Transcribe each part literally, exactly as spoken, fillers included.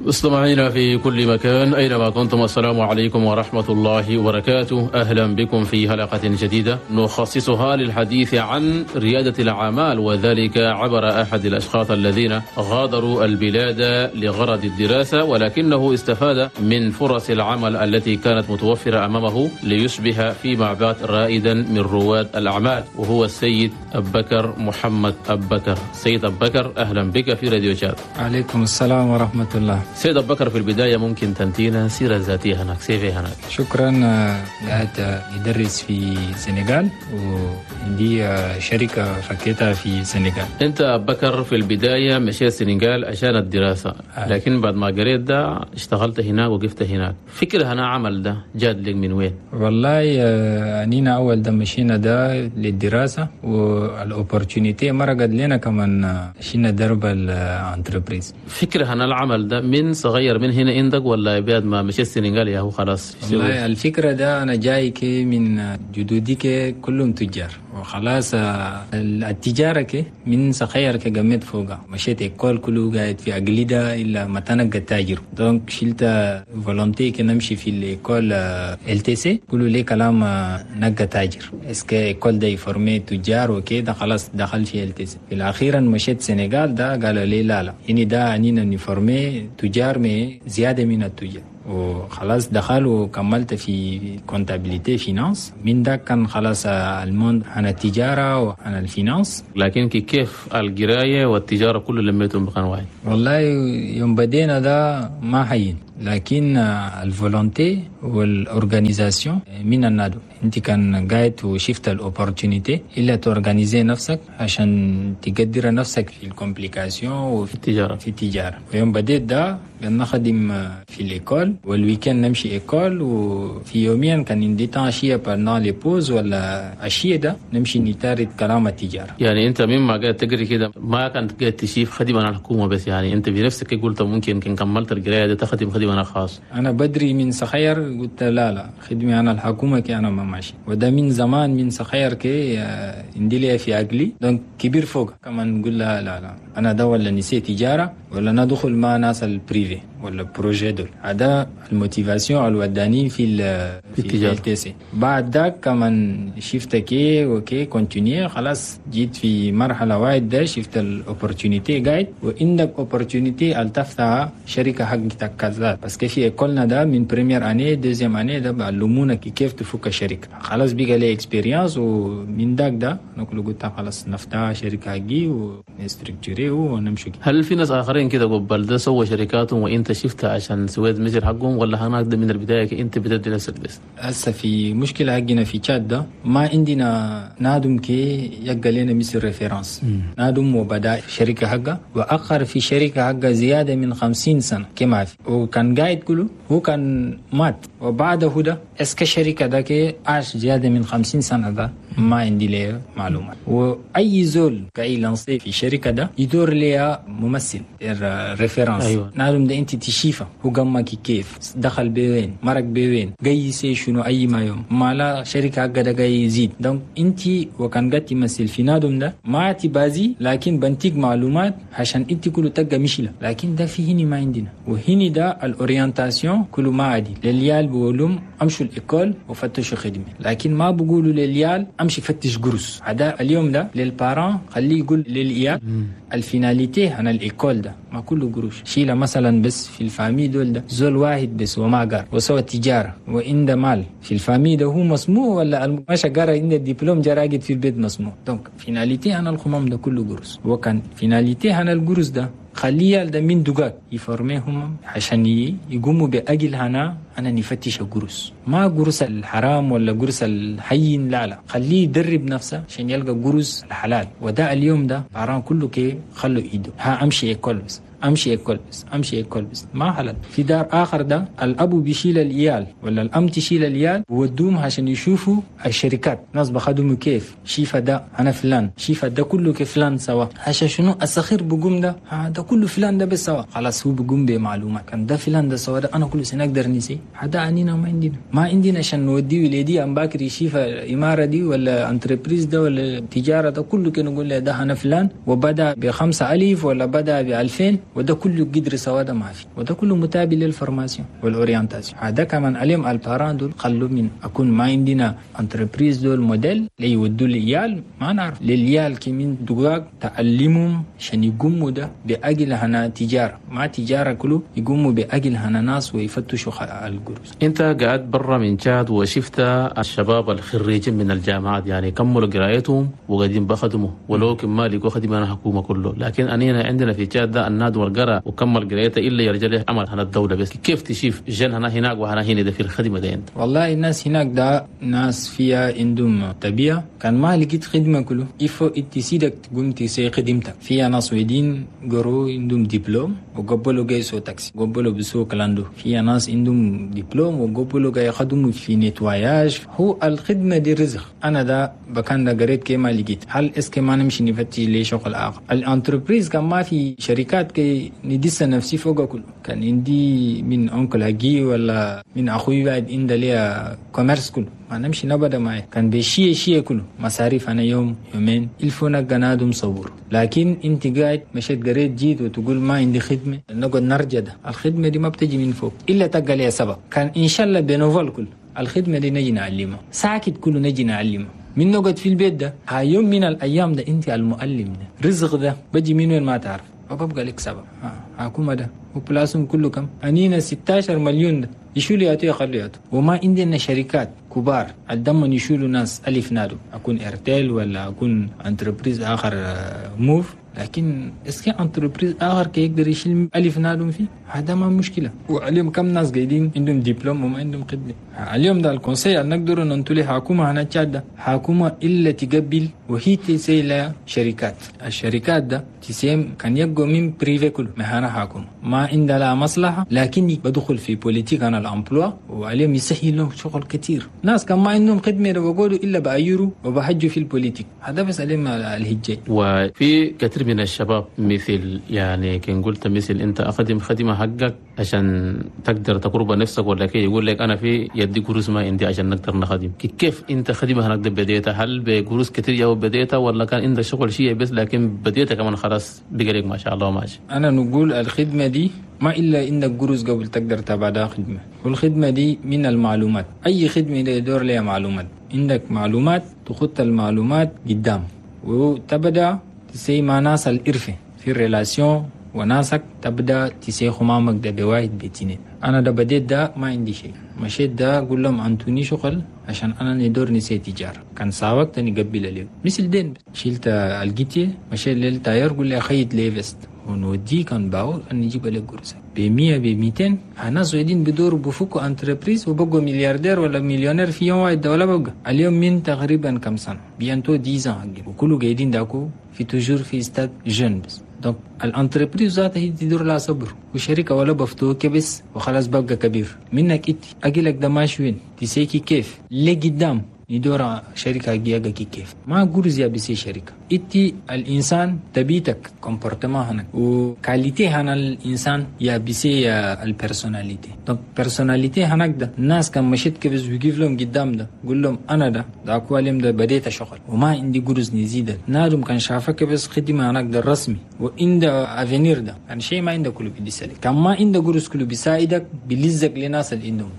مستمعينا في كل مكان أينما كنتم، السلام عليكم ورحمة الله وبركاته. أهلا بكم في حلقة جديدة نخصصها للحديث عن ريادة الأعمال، وذلك عبر أحد الأشخاص الذين غادروا البلاد لغرض الدراسة، ولكنه استفاد من فرص العمل التي كانت متوفرة أمامه ليصبح فيما بعد رائدا من رواد الأعمال، وهو السيد أبكر محمد أبكر. سيد أبكر، أهلا بك في راديو شاد. عليكم السلام ورحمة الله. سيد أبكر، في البداية ممكن تنتينا سيرة ذاتية هناك، C V هناك؟ شكرا. قاعد ندرس في السنغال وعندي شركة فكيتها في السنغال. أنت أبكر في البداية مشيت السنغال عشان الدراسة، آه. لكن بعد ما قريت ده اشتغلت هناك وقفت هناك. فكرة هنا عمل ده جاد لك من وين؟ والله أنينا أول ده مشينا ده للدراسة، وال opportunité مرقت لنا كمان شينا درب ال entreprise. فكرة هنا العمل ده من صغير من هنا عندك ولا بعد ما مشيت السنغال يا هو خلاص؟ والله الفكرة ده أنا جاي كي من جدودي كي كلهم تجار، وخلاص التجارة كي من صغير كي قمت فوقها، مشيت école كله قاعد في أقليدة إلا ما تنقى تاجر، donc شلت volonté كي نمشي في l'école L T C، كله لي كلام نقى تاجر، est-ce que école ده يفورمي تجار وكده، خلاص دخل في L T C. في الأخيرا مشيت سنغال ده قالوا لي لا لا، هني ده أنينا نفورمي تجار mais زيادة من التجار، وخلاص دخل وكملت في comptabilité finance. من ده كان خلاص ال monde عن التجارة وعن ال finance. لكن كيف القراية والتجارة كله لميتهم بمكان واحد؟ والله يوم بدينا ده ما هين، لكن ال volonté وال organisation من النادو، انت كان قاعد وشفت ال opportunité الا تورغانيزي نفسك عشان تقدر نفسك في ال complications وفي التجاره. في التجاره. ويوم بديت ده نخدم في l'école، وال week-end نمشي école، وفي يوميا كان عندي temps عشية pendant les pauses ولا عشية ده نمشي نتارد كلام التجاره. يعني انت مما قاعد تقري كده ما كنت قاعد تشيف خدمة على الحكومة بس، يعني انت بنفسك قلت ممكن كان كملت القراية ده تخدم خدمة انا خاص؟ انا بدري من صغير قلت لا لا، خدمة انا الحكومة كي انا ما ماشي، وده من زمان من صغير كي عندي لي في عقلي، donc كبير فوق كمان نقول لا لا لا، انا ده ولا نسيت تجارة ولا ندخل مع ناس ال privé ولا projet دول. هذا ال motivation الوداني في في التجارة. L T C. بعد ذاك كمان شفت كي okay continuer، خلاص جيت في مرحلة واحدة شفت ال opportunité قاعد، وعندك opportunité تفتح شركة حقتك كذا، parce que في école نا ده من première année، deuxième année ده بعلمونا كيف تفك الشركه، خلاص بقى لي expérience، ومن ذاك ده نقول قلت خلاص نفتح شركة حقي ونستركتوري ونمشي. هل في ناس اخرين كده قبل ده سووا شركاتهم وانت شفتها عشان سويت مثل حقهم، ولا هناك ده من البداية انت بتدي نفسك بس؟ هسه في مشكلة حقنا في تشاد ده، ما عندنا نادم كي يبقى لنا مثل référence، نادم وبدا شركة حقه واخر في شركة حقه زيادة من خمسين سنة كما في، وكان قاعد كله هو كان مات، وبعده ده est-ce que شركة ده كي عاش زيادة من خمسين سنة ده ما عندي ليه معلومات. واي زول كاي lancer في شركة ده يدور ليها ممثل référence. أيوة. نادم ده انت تشيفه هو قام كيف دخل بوين مرق بوين جاي يسي شنو اي ما يوم ما لا شركة حقه ده جاي يزيد، donc انت وكان قاعد تمثل في نادم ده ما تبازي، لكن بنتيك معلومات عشان انت كله تلقى مشيلة، لكن ده في هني ما عندنا. وهني ده ال orientation كله ما عادي لليال، بقولهم امشوا ال école وفتشوا خدمه، لكن ما بقولوا لليال امشي فتش قرص. هذا اليوم ده لل parents خليه يقول للعيال ال finalité عن ال école ده ما كله قروش. شيله مثلا بس في ال famille دول ده زول واحد بس وما قار وسوى تجارة وعنده مال في ال famille ده، هو مسموع ولا ماشى قرا عنده الدبلوم جا راقد في البيت مسموع. donc finalité عن الخمام ده كله قروش، وكان finalité عن القروش ده خليه ده من دقاق يفرميهم عشان يقوموا بأجل هنا أنا نفتش قروس، ما قروس الحرام ولا قروس الحين، لا لا، خليه يدرب نفسه عشان يلقى قروس الحلال. وده اليوم ده parents كله كي خلوا ايده ها امشي école بس، امشي école بس، امشي école بس، ما حلال. في دار اخر ده الابو بيشيل العيال ولا الام تشيل العيال وودوهم عشان يشوفوا الشركات، ناس بخدموا كيف شيفا ده انا فلان شيفا ده كله كيف فلان سوا، عشان شنو الصغير بقوم ده ها ده كله فلان ده بس سوا، خلاص هو بقوم بمعلومات كان ده فلان ده سوا ده انا كل سنة اقدر نسي. هذا أنينا ما عندنا، ما عندنا عشان نودي ولادي أم باكر يشيف الإمارة دي ولا entreprise ده ولا تجارة ده كله، كانوا نقول له ده أنا فلان وبدأ بخمسة ألف ولا بدأ بألفين، وده كله قدر سوا ده ما في، وده كله متابع لل formation وال orientation. هذا كمان عليهم ال parents دول خلوا من أكون ما عندنا entreprise دول موديل ليودوا العيال ما نعرف للعيال كمين دقاق تعلمهم عشان يقوموا ده بأجل هنا تجارة، ما تجارة كله يقوموا بأجل هنا ناس ويفتشوا القروس. أنت قاعد برا من تشاد وشفت الشباب الخريجين من الجامعات يعني كملوا قرايتهم وقاعدين بخدموا ولو كما لقوا خدمة الحكومة كله، لكن أنينا عندنا في تشاد ده الناد والقرا وكمل قرايته إلا يرجع له عمل هنا الدولة بس. كيف تشوف جن هنا هناك وهنا هنا ده في الخدمة ده أنت؟ والله الناس هناك ده ناس فيها عندهم طبيعة، كان ما لقيت خدمة كله إفو إتسيدك تقوم تسي خدمتك. فيها ناس ويدين قروا عندهم دبلوم وقبلوا جاي سو تاكسي، قبلوا بسوق clando. فيها ناس عندهم دبلوم وقبلوا جاي خدموا في nettoyage. هو الخدمة دي رزق. أنا ده بكان ده قريت كي ما لقيت، هل est-ce que ما نمشي نفتش لي شغل آخر؟ ال entreprise كان ما في شركات كي ندس نفسي فوق كله. كان عندي من oncle أجي ولا من أخوي بعد عند ليا commerce كله ما نمشي نبدا معي، كان بشيء شيء كله مصاريف أنا يوم يومين الفونا قنادم صبور. لكن انت قاعد مشيت قريت جيت وتقول ما عندي خدمة، نقعد نرجع ده الخدمة دي ما بتجي من فوق إلا تقل لي سبب. كان إن شاء الله bénévole كله الخدمة دي نجي نعلمها ساكت كله نجي نعلمها من نقعد في البيت ده. هاي يوم من الأيام ده انت المؤلم ده رزق ده بجي من وين ما تعرف وببقى لك سبب. حكومة ده وبلاسهم كله كم أنينا ستة عشر مليون ده يشولوا ياتوا يخلوا ياتوا، وما عندنا شركات كبار الدم يشولوا ناس ألف نادو أكون إرتيل ولا أكون entreprise آخر موف، لكن est-ce que entreprise آخر كي يقدر يشيل ألف نادم فيه هذا ما مشكلة. واليوم كم ناس قاعدين عندهم دبلوم وما عندهم خدمة. اليوم ده ال conseil نقدر ننتلي حكومة هنا تشاد حكومة إلا تقبل وهي تسيل شركات، الشركات ده تسيم كان يبقوا من privé كله مهنا حكومة ما عندها لا مصلحة، لكن بدخل في politique أنا ال emploi وعليهم يسهل لهم شغل كتير. ناس كان ما عندهم خدمة بقولوا إلا بأيروا وبحجوا في ال politique، هذا بس عليهم الهجة. وفي كثير من الشباب مثل يعني كان قلت مثل أنت أخدم خدمة حقك عشان تقدر تقرب نفسك ولا كي يقول لك أنا في يدي قروس ما عندي عشان نقدر نخدم. كيف أنت خدمة هناك بديتها؟ هل بقروس كتير يا بديتها ولا كان عندك شغل شيء بس لكن بديتها كمان خلاص بقى ما شاء الله ماشي؟ أنا نقول الخدمة دي ما إلا عندك قروس قبل تقدر تبعدها خدمة، والخدمة دي من المعلومات. أي خدمة دي يدور لها معلومات، عندك معلومات تخط المعلومات قدام وتبدأ تسي مع ناس الإرفة في ال relation وناسك تبدأ تسي خمامك ده بواحد بيتين. أنا ده بديت ده ما عندي شيء، مشيت ده أقول لهم أنتوني شغل عشان أنا ندور نسي تجارة كان ساوك تاني قبل اليوم مثل دين شلت الجيتي مشيت لل tailleur قول لي خيط لي veste ونودي كان باو أن نجيب لك قرصة بمية بميتين. ناس وايدين بدوروا بفكوا entreprise وبقوا ملياردير ولا مليونير في يوم واحد ولا بقى اليوم من تقريبا كم سنة bientôt dix ans وكله قاعدين داكو في toujours في stade jeune بس. donc ال entreprise ذاتها هي تدور لها صبر وشركة ولا بفتوه كبس وخلاص بقى كبير منك إنت أجيلك ده ماشي وين تسيكي كيف ليه قدام ندور شركة جيجا كيف ما قرز يا بسي شركة إنتي الإنسان تبيتك comportement هنا و qualité هنا الإنسان يا بسي ال personnalité. donc personnalité هناك ده الناس كان مشيت كيف ويجيب لهم قدام ده قول لهم أنا ده ده أكواليم ده بديت شغل وما عندي قرز نزيد نادم كان شافك بس خدمة هناك ده الرسمي وعند avenir ده يعني شيء ما عنده كله بدي سالك كان ما عنده قرز كله بيساعدك بيلزق لناس اللي عندهم.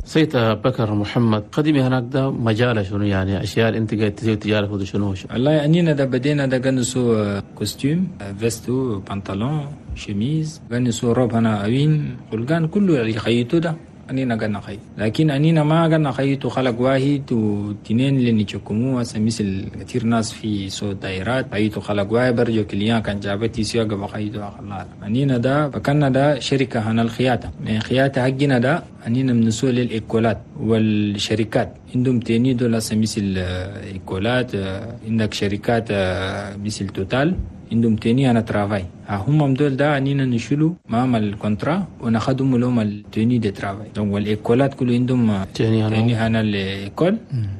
سيد بكر محمد قديمي هناك ده مجال شنو يعني اشياء انت قاعد تسوي تجارة في شنو؟ والله انينا ده بدينا ده قنصو costume veste pantalon chemise قنصو روب هنا اوين قلقان كله اللي خيطو ده أنينا قلنا خيط، لكن أنينا ما قلنا خيط خلق واحد واثنين اللي نشكموه مثل كثير ناس في سوق دايرات خيطوا خلق واحد برجو client كان جابتي سياق بخيطوا الله. أنينا ده بكنا ده شركة هنا الخياطة من خياطة حقنا ده أنينا من سوق للإكولات والشركات عندهم tenue دول مثل école ات، عندك شركات مثل Total عندهم tenue هنا travail، هم دول ده اننا نشيلوا معهم ال contrat وناخدهم لهم ال tenue de travail. donc وال école ات كله عندهم tenue هنا ال école،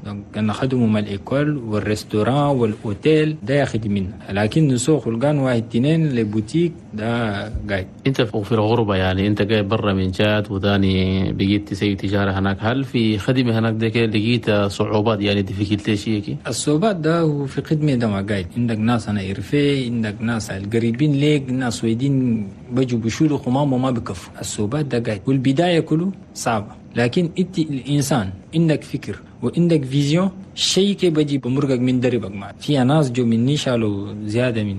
donc ناخدهم ال école وال restaurant وال hôtel ده ياخد منا، لكن نسوق القان واحد اثنين les boutiques ده قاعد. انت في الغربة يعني انت جاي برا من تشاد وثاني بقيت تسوي تجارة هناك، هل في خدمة هناك ده لقيت صعوبات يعني difficulté شيء؟ الصعوبات ده هو في خدمة ده ما قاعد، عندك ناس انا إرفي، عندك ناس القريبين ليك، ناس ويدين بجوا بشولوا خمام وما بكفوا. الصعوبات ده قاعد والبداية كله صعبة، لكن انت الانسان عندك فكر وعندك vision شيء كي بجي بمرقك من دربك. ما في ناس جو مني شالوا زيادة من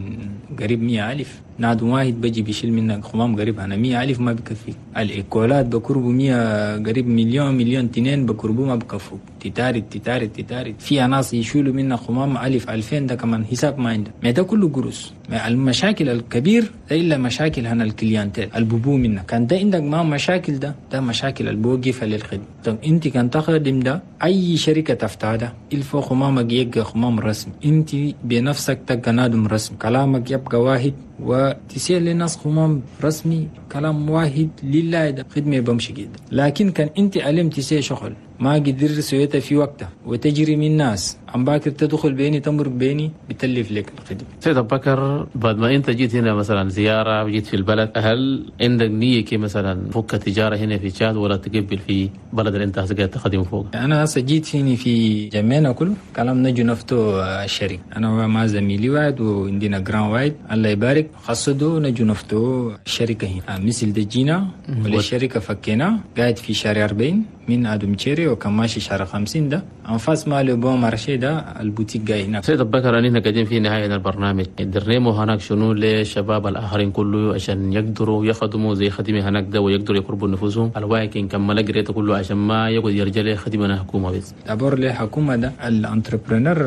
قريب مية ألف، نادو واحد بجي بيشيل منك خمام قريب أنا مية ألف ما بكفي. ال école ات بكربوا مية قريب مليون مليون تنين بكربوا ما بكفوا، تتارد تتارد تتارد. في ناس يشيلوا منا خمام ألف ألفين ده كمان حساب ما عنده، ما ده كله قروس. ما المشاكل الكبير ده إلا مشاكل هنا ال clientèle الببو منك، كان ده عندك ما مشاكل ده ده مشاكل البوقفة للخدمة. طب انت كان تخدم ده أي شركة تفتح ده الفو خمامك يبقى خمام رسمي، انت بنفسك تبقى نادم رسمي، كلامك يبقى واحد وتسير للناس خمام رسمي كلام واحد لله ده خدمة بمشي جدا. لكن كان انت علم تسير شغل ما قدر سويتها في وقتها وتجري من الناس عم باكر تدخل بيني تمرق بيني بتلف لك الخدمة. سيد أبو بكر، بعد ما انت جيت هنا مثلا زيارة وجيت في البلد، هل عندك نية كي مثلا فك تجارة هنا في تشاد ولا تقبل في بلد اللي انت قاعد تخدم فوق؟ انا هسه جيت هنا في جميعنا كله كلام نجو نفتو الشريك، انا مع زميلي واحد وعندنا grand واحد الله يبارك خصدو نجو نفتو الشركة هنا مثل دجينا والشركة فكينا قاعد في شارع أربعين من ادم تشيري وكماشي شارع خمسين ده انفاس ما Le Bon Marché ده البوتيك جاي هناك. سيد أبو بكر، أننا قاعدين في نهاية البرنامج، درنيمو هناك شنو للشباب الآخرين كله عشان يقدروا يخدموا زي خدمة هناك ده ويقدروا يقربوا نفوسهم الواكن كمل قريته كله عشان ما يقعد يرجع خدمة حكومة بس. d'abord لحكومة ده ال entrepreneur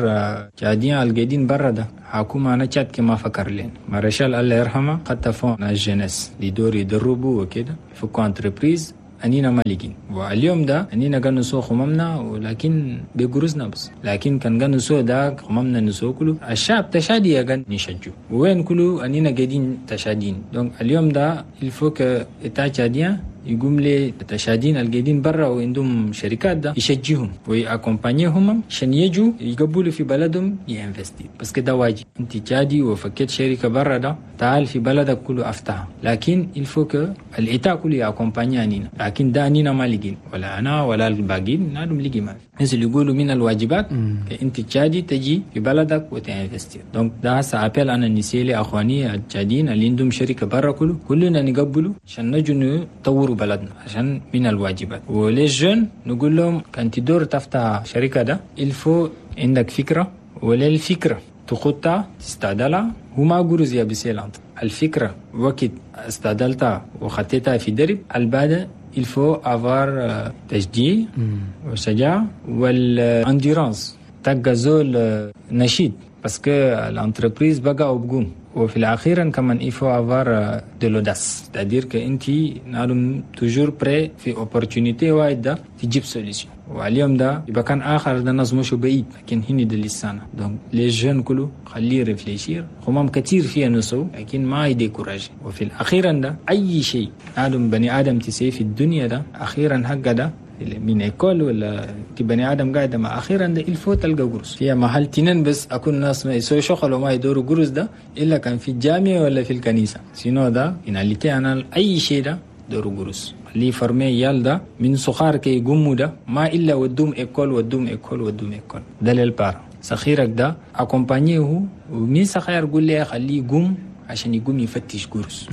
قاعدين القاعدين برا ده حكومة أنا تشاد كما فكر لين مارشال الله يرحمه حتى fonds ال jeunesse يدور يدربوا وكده فكوا entreprise أنينا مالكين. واليوم ده أنينا كان نسوق خمامنا ولكن بجروزنا بس، لكن كان كان نسوق ده خمامنا نسوق كله الشعب تشادي كان نشجو وين كله أنينا قاعدين تشادين. donc اليوم ده il faut que l'État tchadien يقوم لي تشادين القاعدين برا وعندهم شركات ده يشجيهم وي accompagner هم عشان يجوا يقبلوا في بلدهم ي investir، بس كده واجب. انت تشادي وفكيت شركة برا ده تعال في بلدك كله افتحها، لكن il faut que l'État كله ي accompagner انينا، لكن ده انينا ما لقين ولا انا ولا الباقيين نادم لقي ما مثل يقولوا من الواجبات انت تشادي تجي في بلدك وت investir. donc ده هسه appel انا نسيلي اخواني التشاديين اللي عندهم شركة برا كله كلنا نقبلوا عشان نجوا نطوروا بلدنا عشان من الواجبات. و les jeunes نقول لهم كان تدور تفتح شركة ده il faut عندك فكرة، ولا الفكرة تخطها تستعدلها وما قرز يا بسيلانت الفكرة وقت استعدلتها وخطيتها في درب البعد il faut avoir تشجيع وشجاعة وال endurance تبقى زول نشيد parce que l'entreprise بقى وبقوم. وفي الأخير كمان il faut avoir de l'audace، c'est-à-dire que انت نعلم toujours prêt في opportunité واحدة تجيب solution. واليوم ده يبقى كان آخر ده الناس مش بعيد لكن هني ده لسانه. donc les jeunes كله خليه réfléchir همام كتير فيها نسو لكن ما ي décourager. وفي الأخير ده أي شيء آدم بني آدم تسي في الدنيا ده أخيرا حق ده من école ولا بني ادم قاعد مع اخيرا ده il faut تلقى قرص فيها محل تنين بس اكون ناس ما يسوي شغل وما يدوروا قرص ده الا كان في الجامعة ولا في الكنيسة، sinon ده finalité انا اي شيء ده دوروا قرص اللي former يال ده من صغار كي يقوموا ده ما الا ودوم école ودوم école ودوم école ده لل parents صغيرك ده accompagner هو ومين صغير قول لي خليه يقوم عشان يقوم يفتش قرص.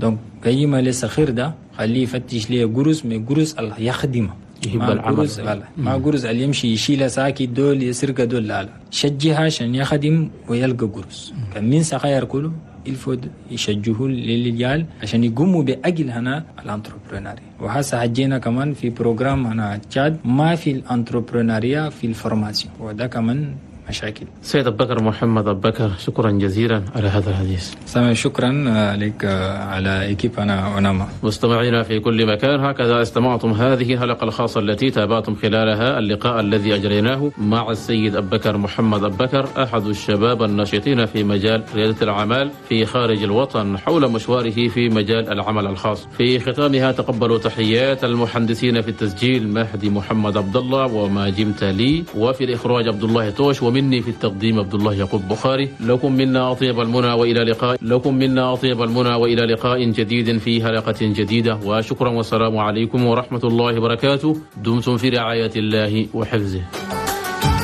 donc قيمة للصغير ده خليه يفتش ليه قرص من قرص الله يخدمه يحب العمل ما قرص اللي يمشي يشيل ساكي دول يسرق دول لا لا شجها عشان يخدم ويلقى قرص. كان من صغير كله il faut يشجهوا للرجال عشان يقوموا بأجل هنا ال entrepreneuriat. وهسه حجينا كمان في programme هنا تشاد ما في ال entrepreneuriat في ال formation، وده كمان مشاكل. سيد أبو بكر محمد أبو بكر، شكرا جزيلا على هذا الحديث. سامي، شكرا لك على équipe هنا أوناما. مستمعينا في كل مكان، هكذا استمعتم هذه الحلقة الخاصة التي تابعتم خلالها اللقاء الذي أجريناه مع السيد أبو بكر محمد أبو بكر، أحد الشباب الناشطين في مجال ريادة الأعمال في خارج الوطن، حول مشواره في مجال العمل الخاص. في ختامها تقبلوا تحيات المهندسين في التسجيل مهدي محمد عبد الله وماجم تالي، وفي الإخراج عبد الله توش، ومني في التقديم عبد الله يعقوب بخاري. لكم منا أطيب المنى وإلى لقاء لكم منا أطيب المنى وإلى لقاء جديد في حلقة جديدة، وشكرا والسلام عليكم ورحمة الله وبركاته. دمتم في رعاية الله وحفظه.